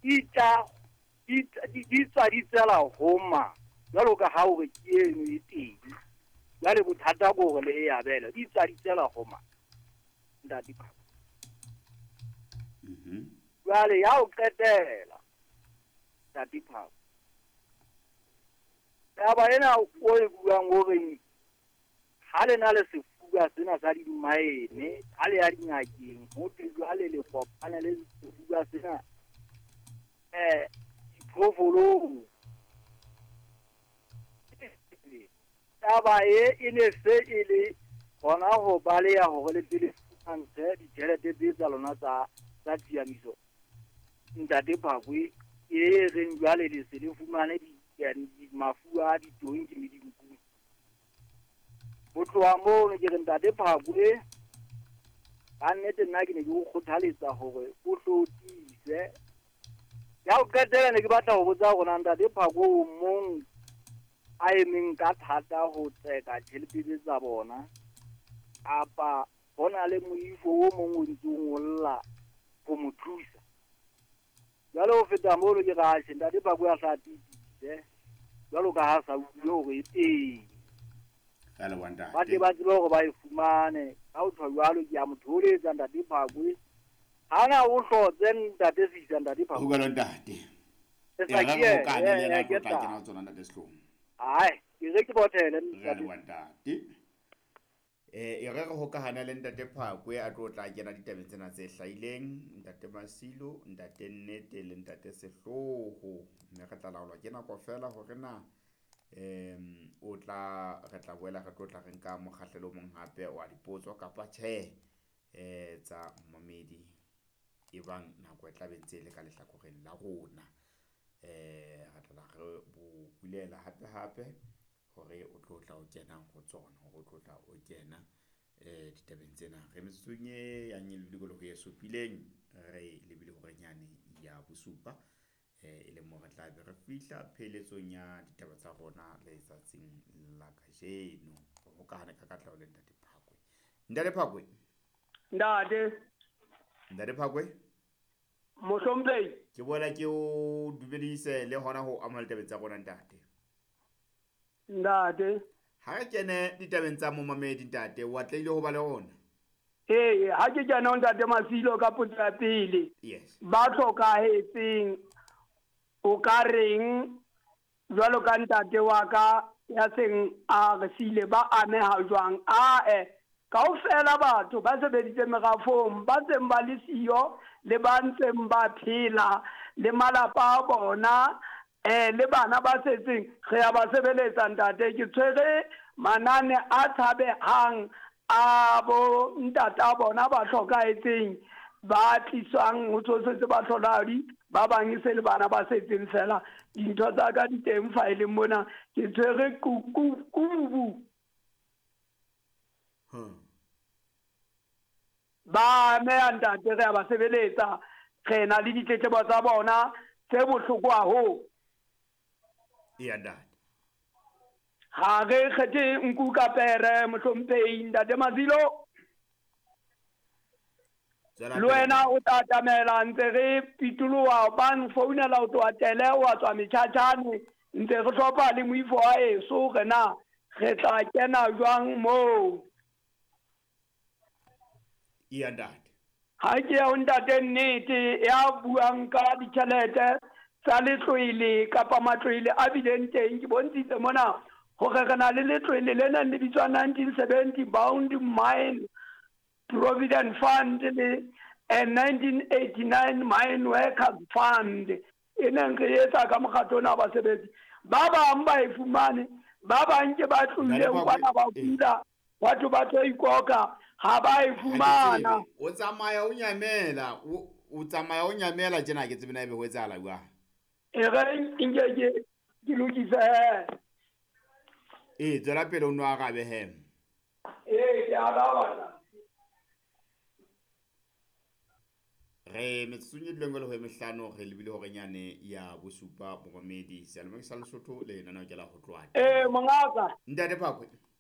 Di tla di tswa di tswela ho mang? Jwalo ka ha o re ke eno e teng. Jwale bothata ke hore le e abelwe. Di tswa di tswela ho mang? Ntate Phakwe. Jwale ya ho qetela, Ntate Phakwe. Taba ena o e buang o reng ha le na le sefuba sena sa dimaene, ha le ya dingakeng, ho thwe jwale le kopane le sefuba sena diphoofolong. Taba e e ne se e le hona ho baleha hore le pele fumantshe ditjhelete tse tsa lona tsa tsa tshiamiso. Ntate Phakwe e reng jwale le se le fumane di mafu a ditonki le dinku. Ho tloha mono ke re Ntate Phakwe ka nnete nna ke ne ke o kgothaletsa hore o hlo tiise. Ya ho qetela ne ke batla ho botsa hore na Ntate Phakwe o mong a emeng ka thata ho tseka tjhelete tse tsa bona kapa ho na le moifo o mong o ntse o ngolla ho mo thusa. Jwale ho feta mono ke re atjhe Ntate Phakwe a hla tiisise jwalo ka ha sa utlwe hore e teng. Re a leboha ntate. Ba tle ba tsebe hore ba e fumane. Ka ho tjho jwalo ke a mo thoholetsa Ntate Phakwe. Hana o hlotse Ntate Sisa Ntate Phakwe. Ho jwalo ntate. E E sa re ke re hokane le e yena a ke tlo tla tla. kena ho tsona ntate Sehlong. Ai, ke re ke bothele Re a Ntate. leboha ntate. E re re hokahane le Ntate Phakwe a tlo tla kena ditabeng tsena tse hlahileng, Ntate Masilo, Ntate Nnete le Ntate Sehloho. Mme re tla laolwa ke nako feela hore na o tla re tla boela re tlo tla re nka mokgahlelo o mong hape wa dipotso kapa tjhe tsa momamedi ebang nako e tla be ntse e le ka lehlakoreng la rona. Re tla re bo bulela hape hape hore o tlo tla o kena ho tsona, hore o tlo tla o kena ditabeng tsena. Re metsotsong e yang e lebile ho e supileng, re lebile horenyane ya bosupa e leng mo re tla be re fihla pheletsong ya ditaba tsa rona letsatsing la kajeno. Re hokahane ka katleho le Ntate Phakwe. Ntate Phakwe. Ntate. Ntate Phakwe. Mohlomphehi. Ke boela ke o dumedise le hona ho amohela ditabeng tsa rona ntate. Ntate. Ha re kene ditabeng tsa momamedi ntate, o atlehile ho ba le rona? Ee, ha ke kena ho Ntate Masilo ka potso ya pele. Yes. Ba hlokahetseng o ka reng jwalo ka ntate wa ka ya seng a re siile ba ameha jwang? Ae, kaofela batho ba sebeditse merafong ba seng ba le siyo le ba ntseng ba phela le malapa a bona le bana ba setseng re ya ba sebeletsa ntate. Ke tshwere manane a tshabehang a bo ntata bona ba hlokahetseng ba tliswang ho tsosetse bahlolahadi ba bang e se le bana ba setseng fela. Dintho tsa ka di teng faeleng mona, ke tshwere kubu. Ba ameha ntate, re a ba sebeletsa, re na le ditletlebo tsa bona tse bohloko haholo. Eya ntate. Ha re kgethe nku ka pere mohlomphehi Ntate Masilo. Tswela Le pele. wena o tla atamela ntse re pitoloha ba nfounela ho tloha tele wa tswa metjhatjhane ntse re hlopha le moifo wa heso re na re tla kena jwang moo. Eya ntate. Ha ke ya ho Ntate Nnete ya buang ka ditjhelete tsa letlwele kapa matlwele a bileng teng. Ke bontshitse mona hore re na le letlwele le neng le bitswa 1970 Bound Mine Provident Fund le 1989 Mine Workers Fund e neng re etsa ka mokgatlo ona wa basebetsi. Ba bang ba e fumane, ba bang ke ba tlohileng kwana ba kula, batho ba tlo ikoka ha ba e fumana. O tsamaya o nyamela, o tsamaya o nyamela tjena ke tsebe na ebe ho etsahala jwang. E re nke ke lokise he. Ee, tswela pele o nno arabe he. Ee, ke araba. Re metsotsong e duleng ho e mehlano re lebile horenyane ya bosupa momamedi seyalemoya sa Lesotho le lenaneo ke la ho tloha. Ee, mongaka. Ntate Phakwe.